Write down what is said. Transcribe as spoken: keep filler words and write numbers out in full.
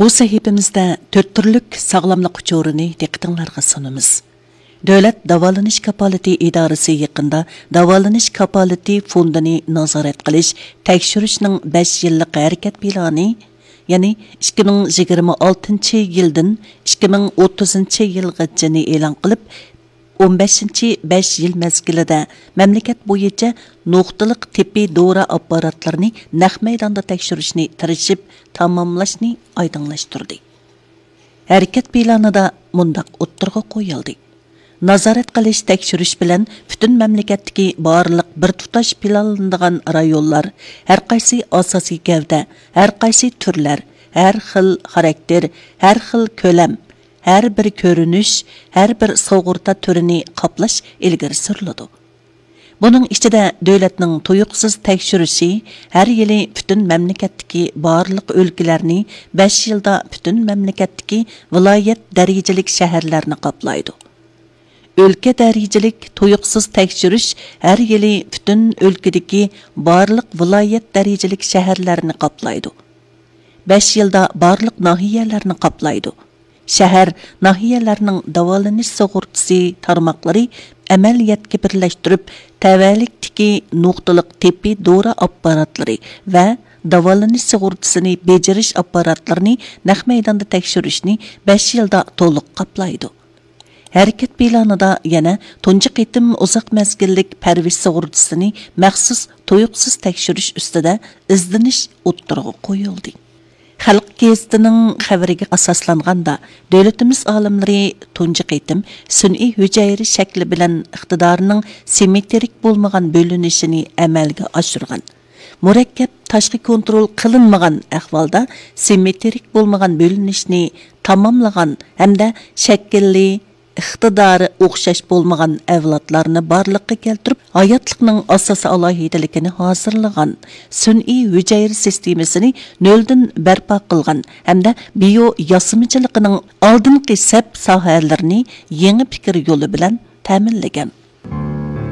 بۇ سەھىپىمىزدە تۆت تۈرلۈك ساغلاملىق ئۇچۇرىنى دىققىتىڭلارغا سۇنىمىز. دۆلەت داۋالىنىش كاپالىتى ئىدارىسى يېقىندا داۋالىنىش كاپالىتى فوندىنى نازارەت قىلىش، تەكشۈرۈشنىڭ بەش يىللىق ھەرىكەت پىلانى، يەنى ئىككى مىڭ يىگىرمە ئالتىنچى يىلدىن ئىككى مىڭ ئوتتۇزىنچى يىلغىچىنى ئېلان قىلىپ، ئون بەشىنچى بەش يىل مەزگىلىدە مەملىكەت بويىچە نۇقتىلىق تېببىي دورا ئاپپاراتلىرىنى نەق مەيداندا تەكشۈرۈشنى تىرىشىپ تاماملاشنى ئايدىڭلاشتۇردى. ھەرىكەت پىلانىدا مۇنداق ئوتتۇرىغا قويۇلدى: نازارەت قىلىش، تەكشۈرۈش بىلەن پۈتۈن مەملىكەتتىكى بارلىق بىر تۇتاش پىلانلىنىدىغان رايونلار، ھەرقايسى ئاساسىي گەۋدە، ھەرقايسى تۈرلەر، ھەر خىل خاراكتېر، ھەر خىل كۆلەم، ھەر بىر كۆرۈنۈش، ھەر بىر سۇغۇرتا تۈرىنى قاپلاش ئىلگىرى سۈرۈلىدۇ. بۇنىڭ ئىچىدە دۆلەتنىڭ تۇيۇقسىز تەكشۈرۈشى ھەر يىلى پۈتۈن مەملىكەتتىكى بارلىق ئۆلكىلەرنى، بەش يىلدا پۈتۈن مەملىكەتتىكى ۋىلايەت دەرىجىلىك شەھەرلەرنى قاپلايدۇ. ئۆلكە دەرىجىلىك تۇيۇقسىز تەكشۈرۈش ھەر يىلى پۈتۈن ئۆلكىدىكى بارلىق ۋىلايەت دەرىجىلىك شەھەرلەرنى قاپلايدۇ. بەش يىلدا بارلىق ناھىيەلەرنى قاپلايدۇ. شەھەر، ناھىيەلەرنىڭ داۋالىنىش سۇغۇرتىسى تارماقلىرى ئەمەلىيەتكە بىرلەشتۈرۈپ، تەۋەلىكتىكى نۇقتىلىق تېببىي دورا ئاپپاراتلىرى ۋە داۋالىنىش سۇغۇرتىسىنى بېجىرىش ئاپپاراتلىرىنى نەق مەيداندا تەكشۈرۈشنى بەش يىلدا تولۇق قاپلايدۇ. ھەرىكەت پىلانىدا يەنە تۇنجى قېتىم ئۇزاق مەزگىللىك پەرۋىش سۇغۇرتىسىنى مەخسۇس تۇيۇقسىز تەكشۈرۈش ئۈستىدە ئىزدىنىش ئوتتۇرىغا قويۇلدى. خەلق گېزىتىنىڭ خەۋىرىگە ئاساسلانغاندا، دۆلىتىمىز ئالىملىرى تۇنجى قېتىم سۈنئىي ھۈجەيرە شەكلى بىلەن ئىقتىدارىنىڭ سىممېترىك بولمىغان بۆلۈنۈشىنى ئەمەلگە ئاشۇرغان. مۇرەككەپ تاشقى كونترول قىلىنمىغان ئەھۋالدا سىممېترىك بولمىغان بۆلۈنۈشنى تاماملىغان ھەمدە شەكىلى، ئىقتىدارى ئوخشاش بولمىغان ئەۋلادلارنى بارلىققا كەلتۈرۈپ، ھاياتلىقنىڭ ئاساسىي ئالاھىدىلىكىنى ھازىرلىغان، سۈنئىي ھۈجەيرە سىستېمىسىنى نۆلدىن بەرپا قىلغان ھەمدە بىيو ياسىمىچىلىقىنىڭ ئالدىنقى سەپ ساھەلىرىنى يېڭى پىكىر يولى بىلەن تەمىنلىگەن.